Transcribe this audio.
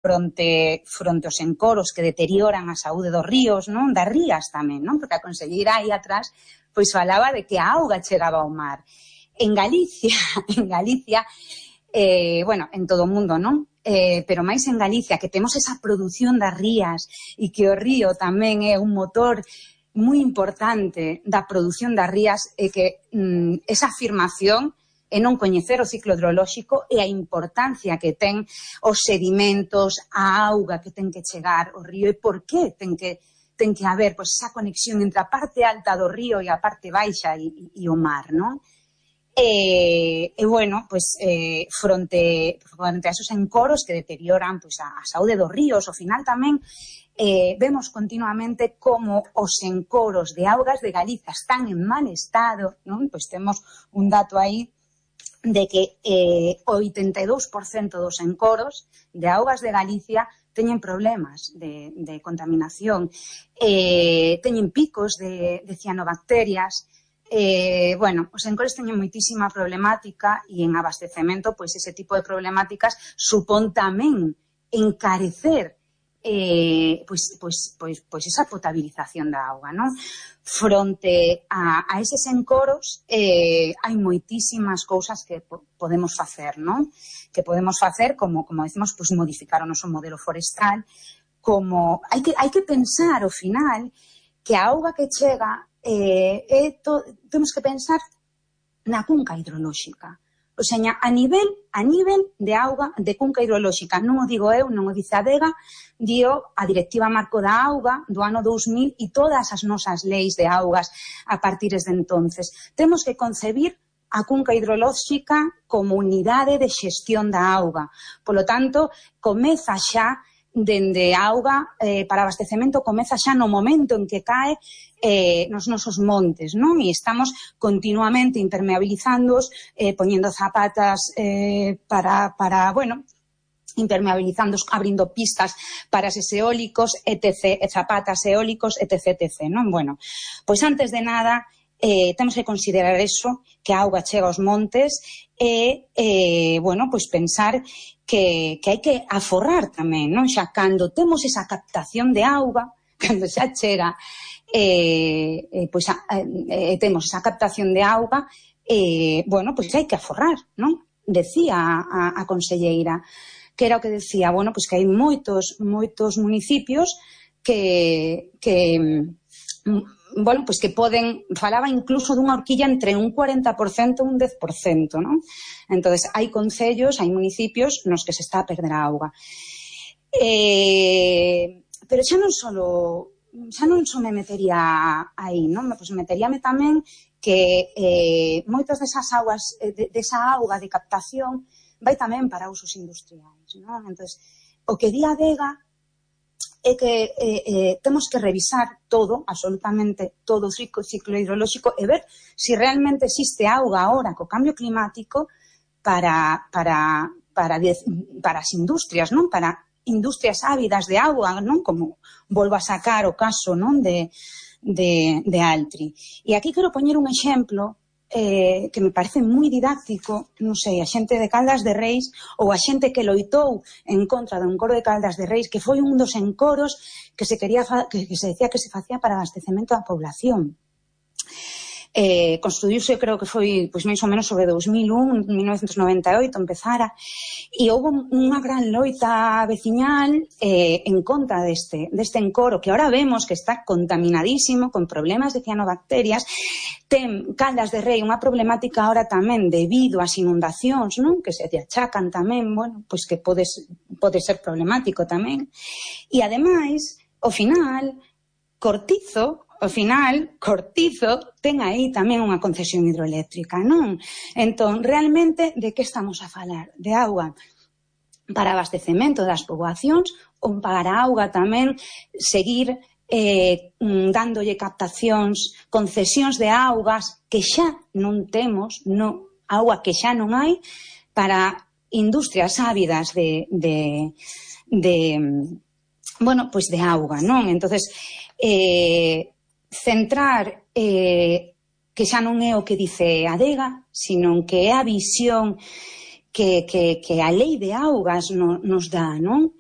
fronte aos encoros que deterioran a saúde dos ríos, non? Das rías tamén, non? Porque a conselleira aí atrás pois falaba de que a auga chegaba ao mar. En Galicia, bueno, en todo o mundo, non? Pero máis en Galicia, que temos esa produción das rías e que o río tamén é un motor moi importante da produción das rías, e que esa afirmación e non coñecer o ciclo hidrolóxico e a importancia que ten os sedimentos, a auga que ten que chegar ao río e por que ten que haber pois, esa conexión entre a parte alta do río e a parte baixa e o mar, non? E bueno, pois, fronte a esos encoros que deterioran pois, a saúde dos ríos, ao final tamén vemos continuamente como os encoros de augas de Galicia están en mal estado, non? Pois temos un dato aí de que o 82% dos encoros de augas de Galicia teñen problemas de contaminación, teñen picos de cianobacterias. Bueno, os encoros teñen moitísima problemática e en abastecemento, pois ese tipo de problemáticas supón tamén encarecer pois esa potabilización da auga, non? Fronte a eses encoros hai moitísimas cousas que podemos facer, non? Que podemos facer, como decimos, pois modificar o noso modelo forestal, como hai que pensar ao final que a auga que chega temos que pensar na cunca hidrolóxica. O sea, a nivel de auga, de cunca hidrolóxica, non o digo eu, non o dice a Adega, dio a Directiva Marco da Auga do ano 2000 e todas as nosas leis de augas a partir de entonces. Temos que concebir a cunca hidrolóxica como unidade de xestión da auga. Polo tanto, comeza xa dende a auga para abastecemento, comeza xa no momento en que cae nos nosos montes, non? E estamos continuamente impermeabilizándoos, poñendo zapatas para, bueno, impermeabilizándoos, abrindo pistas para eses eólicos, etc., zapatas eólicos, etc., non? Bueno, pois antes de nada, temos que considerar eso, que a auga chega aos montes e, bueno, pois pensar que hai que aforrar tamén, non? Xa cando temos esa captación de auga, cando xa chega, pois temos esa captación de auga, bueno, pois hai que aforrar, non? Decía a conselleira, que era o que decía, bueno, pois que hai moitos municipios que bueno, pois que poden, falaba incluso dunha horquilla entre un 40% e un 10%, non? Entonces, hai concellos, hai municipios nos que se está a perder a auga. Pero xa non só me metería aí, non? Pois meteríame tamén que moitas desas augas, desa auga de captación, vai tamén para usos industriais, non? Entonces, o que di a Adega é que temos que revisar todo, absolutamente todo o ciclo hidrolóxico e ver se realmente existe auga agora co cambio climático para as industrias, non? Para industrias ávidas de auga, non? Como volvo a sacar o caso, non? De Altri. E aquí quero poñer un exemplo que me parece moi didáctico, non sei, a xente de Caldas de Reis ou a xente que loitou en contra do encoro de Caldas de Reis, que foi un dos encoros que se decía que se facía para abastecemento da población. Construíuse, creo que foi pois máis ou menos sobre 2001, 1998 empezara, e houve unha gran loita veciñal en contra deste encoro, que ahora vemos que está contaminadísimo, con problemas de cianobacterias. Ten Caldas de Rei unha problemática ahora tamén debido ás inundacións, non? Que se achacan tamén, bueno, pois que pode ser problemático tamén. E ademais, ao final, Cortizo ten aí tamén unha concesión hidroeléctrica, non? Entón, realmente, de que estamos a falar? De auga para abastecemento das poboacións ou para auga tamén seguir dándolle captacións, concesións de augas que xa non temos, auga que xa non hai para industrias ávidas bueno, pois de auga, non? Entonces, centrar que xa non é o que dice a Adega, sino que é a visión que a lei de augas nos dá, non?